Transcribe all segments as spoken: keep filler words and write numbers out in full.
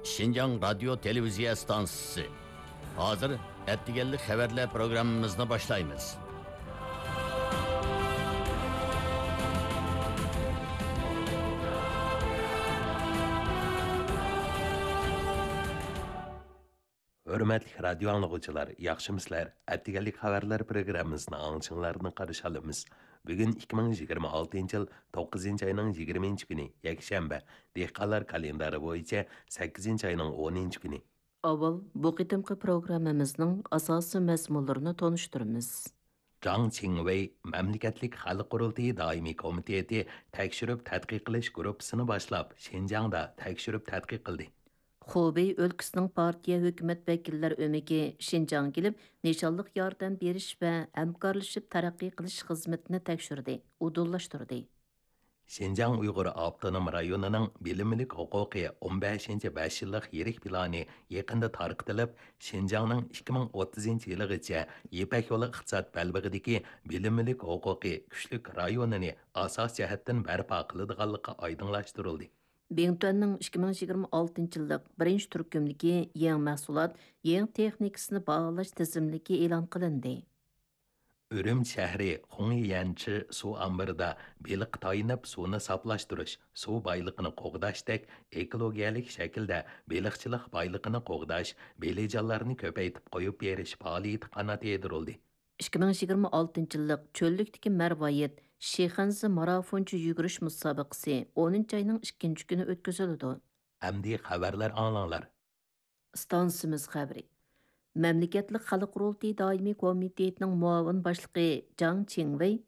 شىنجاڭ رادىيو تېلېۋىزىيە ئىستانسىسى. ھازىر ئەتىگەنلىك خەۋەرلەر پروگراممىمىزنى باشلايمىز. ھۆرمەتلىك رادىيو ئاڭلىغۇچىلار، ياخشىمۇسىلەر؟ ئەتىگەنلىك خەۋەرلەر پروگراممىسىنى ئاڭلىشىڭلارنى قارشى ئالىمىز. بۈگۈن ئىككى مىڭ يىگىرمە ئالتىنچى يىل توققۇزىنچى ئاينىڭ يىگىرمىنچى كۈنى، يەكشەنبە، دېھقانلار كالېندارى بويىچە سەككىزىنچى ئاينىڭ ئونىنچى كۈنى. ئاۋۋال بۇ قېتىمقى پروگراممىمىزنىڭ ئاساسىي مەزمۇنلىرىنى تونۇشتۇرىمىز. جاڭ چىڭۋېي مەملىكەتلىك خەلق قۇرۇلتىيى دائىمىي كومىتېتى تەكشۈرۈپ تەتقىق قىلىش گۇرۇپپىسىنى باشلاپ، شىنجاڭدا تەكشۈرۈپ تەتقىق قىلدى. خۇبېي ئۆلكىسىنىڭ پارتىيە ھۆكۈمەت ۋەكىللەر ئۆمىكى شىنجاڭغا كېلىپ، نىشانلىق ياردەم بېرىش ۋە ھەمكارلىشىپ تەرەققىي قىلىش خىزمىتىنى تەكشۈردى، ئۇدۇللاشتۇردى. شىنجاڭ ئۇيغۇر ئاپتونوم رايونىنىڭ بىلىملىك ھوقۇقى ئون بەشىنچى بەش يىللىق يىرىك پىلانى يېقىندا تارقىتىلىپ، شىنجاڭنىڭ ئىككى مىڭ ئوتتۇزىنچى يىلىغىچە يىپەك يولى ئىقتىساد بەلبېغىدىكى بىلىملىك ھوقۇقى كۈچلۈك رايونىنى ئاساس جەھەتتىن بەرپا قىلىدىغانلىقى ئايدىڭلاشتۇرۇلدى. بىڭتۈەننىڭ ئىككى مىڭ يىگىرمە ئالتىنچى يىللىق بىرىنچى تۈركۈمدىكى يېڭى مەھسۇلات، يېڭى تېخنىكىسىنى باھالاش تىزىملىكى ئېلان قىلىندى. ئۈرۈمچى شەھىرى خۇڭييەنچى سۇ ئامبىرىدا بېلىققا تايىنىپ سۇنى ساپلاشتۇرۇش، سۇ بايلىقىنى قوغداشتەك ئېكولوگىيەلىك شەكىلدە بېلىقچىلىق بايلىقىنى قوغداش، بېلىجانلارنى كۆپەيتىپ قويۇپ بېرىش پائالىيىتى قانات يايدۇرۇلدى. ئىككى مىڭ يىگىرمە ئالتىنچى يىللىق چۆللۈكتىكى مەرۋايىت شىخەنزې مارافونچە يۈگۈرۈش مۇسابىقىسى ئونىنچى ئاينىڭ ئىككىنچى كۈنى ئۆتكۈزۈلىدۇ. ئەمدى خەۋەرلەر ئاڭلاڭلار. ئىستانسىمىز خەۋىرى. مەملىكەتلىك خەلق قۇرۇلتىيى دائىمىي كومىتېتىنىڭ مۇئاۋىن باشلىقى جاڭ چىڭۋېي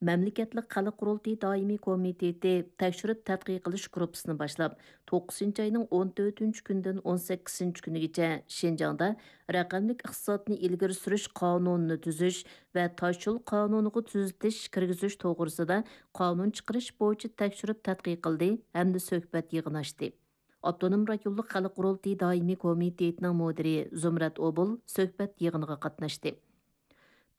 مەملىكەتلىك خەلق قۇرۇلتىيى دائىمىي كومىتېتى تەكشۈرۈپ تەتقىق قىلىش گۇرۇپپىسىنى باشلاپ، توققۇزىنچى ئاينىڭ ئون تۆتىنچى كۈنىدىن ئون سەككىزىنچى كۈنىگىچە شىنجاڭدا رەقەملىك ئىقتىسادنى ئىلگىرى سۈرۈش قانۇنىنى تۈزۈش ۋە تاشيول قانۇنىغا تۈزىتىش كىرگۈزۈش توغرىسىدا قانۇن چىقىرىش بويىچە تەكشۈرۈپ تەتقىق قىلدى ھەمدە سۆھبەت يىغىنى ئاچتى. ئاپتونوم رايونلۇق خەلق قۇرۇلتىيى دائىمىي كومىتېتىنىڭ مۇدىرى زۇمرەت ئوبۇل سۆھبەت يىغىنىغا قاتناشتى.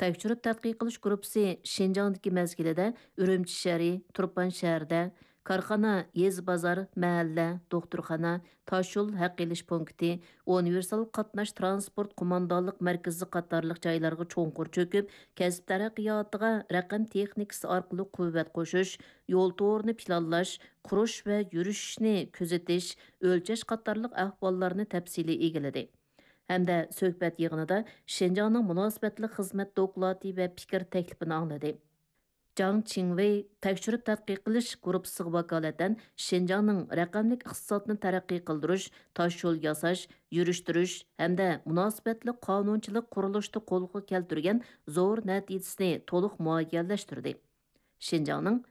تەكشۈرۈپ تەتقىق قىلىش گۇرۇپپىسى شىنجاڭدىكى مەزگىلىدە ئۈرۈمچى شەھىرى، تۇرپان شەھىرىدە، كارخانا، يېزا بازار، مەھەللە، دوختۇرخانا، تاشيول ھەق ئېلىش پونكىتى، ئۇنىۋېرسال قاتناش تىرانسپورت قوماندانلىق مەركىزى قاتارلىق جايلارغا چوڭقۇر چۆكۈپ، كەسىپ تەرەققىياتىغا رەقەم تېخنىكىسى ئارقىلىق قۇۋۋەت قوشۇش، يول تورىنى پىلانلاش، قۇرۇش ۋە يۈرۈشۈشنى كۆزىتىش، ئۆلچەش قاتارلىق ئەھۋاللارنى تەپسىلىي ئىگىلىدى. ھەمدە سۆھبەت يىغىنىدا شىنجاڭنىڭ مۇناسىۋەتلىك خىزمەت دوكلاتى ۋە پىكىر تەكلىپىنى ئاڭلىدى. جاڭ چىڭۋېي تەكشۈرۈپ تەتقىق قىلىش گۇرۇپپىسىغا ۋاكالىتەن شىنجاڭنىڭ رەقەملىك ئىقتىسادنى تەرەققىي قىلدۇرۇش، تاشيول ياساش، يۈرۈشتۈرۈش ھەمدە مۇناسىۋەتلىك قانۇنچىلىق قۇرۇلۇشتا قولغا كەلتۈرگەن زور نەتىجىسىنى تولۇق مۇئەييەنلەشتۈردى. شىنجاڭنىڭ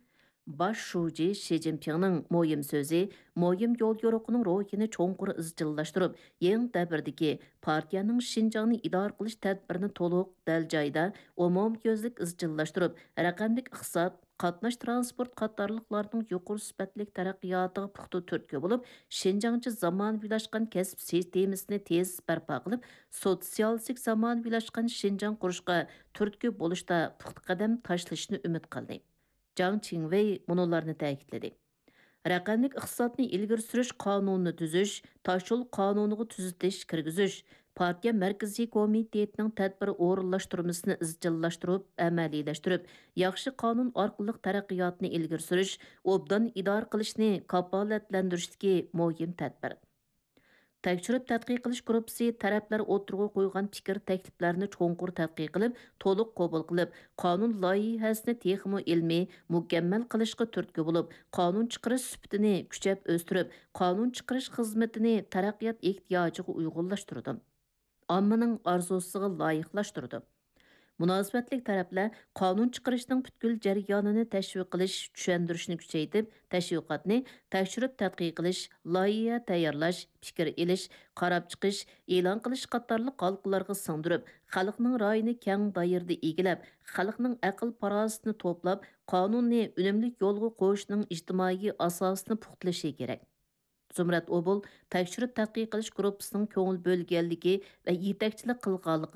باش شۇجى شى جىنپىڭنىڭ مۇھىم سۆزى، مۇھىم يول يورۇقىنىڭ روھىنى چوڭقۇر ئىزچىللاشتۇرۇپ، يېڭى دەۋردىكى پارتىيەنىڭ شىنجاڭنى ئىدارە قىلىش تەدبىرىنى تولۇق، دەل جايىدا، ئومۇميۈزلۈك ئىزچىللاشتۇرۇپ، رەقەملىك ئىقتىساد، قاتناش تىرانسپورت قاتارلىقلارنىڭ يۇقىرى سۈپەتلىك تەرەققىياتىغا پۇختا تۈرتكە بولۇپ، شىنجاڭچە زامانىۋىلاشقان كەسىپ سىستېمىسىنى تېز بەرپا قىلىپ، سوتسىيالىستىك زامانىۋىلاشقان شىنجاڭ قۇرۇشقا تۈرتكە بولۇشتا پۇختا قەدەم تاشلىشىنى ئۈمىد قىلدى. جاڭ چىڭۋېي مۇنۇلارنى تەكىتلىدى: رەقەملىك ئىقتىسادنى ئىلگىرى سۈرۈش قانۇنىنى تۈزۈش، تاشيول قانۇنىغا تۈزىتىش كىرگۈزۈش، پارتىيە مەركىزىي كومىتېتىنىڭ تەدبىر ئورۇنلاشتۇرمىسىنى ئىزچىللاشتۇرۇپ، ئەمەلىيلەشتۈرۈپ، ياخشى قانۇن ئارقىلىق تەرەققىياتنى ئىلگىرى سۈرۈش، ئوبدان ئىدارە قىلىشنى كاپالەتلەندۈرۈشتىكى مۇھىم تەدبىر. تەكشۈرۈپ تەتقىق قىلىش گۇرۇپپىسى تەرەپلەر ئوتتۇرىغا قويغان پىكىر تەكلىپلەرنى چوڭقۇر تەتقىق قىلىپ، تولۇق قوبۇل قىلىپ، قانۇن لايىھەسىنى تېخىمۇ ئىلمىي، مۇكەممەل قىلىشقا تۈرتكە بولۇپ، قانۇن چىقىرىش سۈپىتىنى كۈچەپ ئۆستۈرۈپ، قانۇن چىقىرىش خىزمىتىنى تەرەققىيات ئېھتىياجىغا ئۇيغۇنلاشتۇرىدۇ. ئاممىنىڭ ئارزۇسىغا لايىقلاشتۇرىدۇ. مۇناسىۋەتلىك تەرەپلەر قانۇن چىقىرىشنىڭ پۈتكۈل جەريانىنى تەشۋىق قىلىش، چۈشەندۈرۈشنى كۈچەيتىپ، تەشۋىقاتنى تەكشۈرۈپ تەتقىق قىلىش، لايىھە تەييارلاش، پىكىر ئېلىش، قاراپ چىقىش، ئېلان قىلىش قاتارلىق ھالقىلارغا سىڭدۈرۈپ، خەلقنىڭ رايىنى كەڭ دائىرىدە ئىگىلەپ، خەلقنىڭ ئەقىل-پاراسىتىنى توپلاپ، قانۇننى ئۈنۈملۈك يولغا قويۇشنىڭ ئىجتىمائىي ئاساسىنى پۇختىلىشى كېرەك. زۇمرەت ئوبۇل تەكشۈرۈپ تەتقىق قىلىش گۇرۇپپىسىنىڭ كۆڭۈل بۆلگەنلىكى ۋە يېتەكچىلىك قىلغانلىقى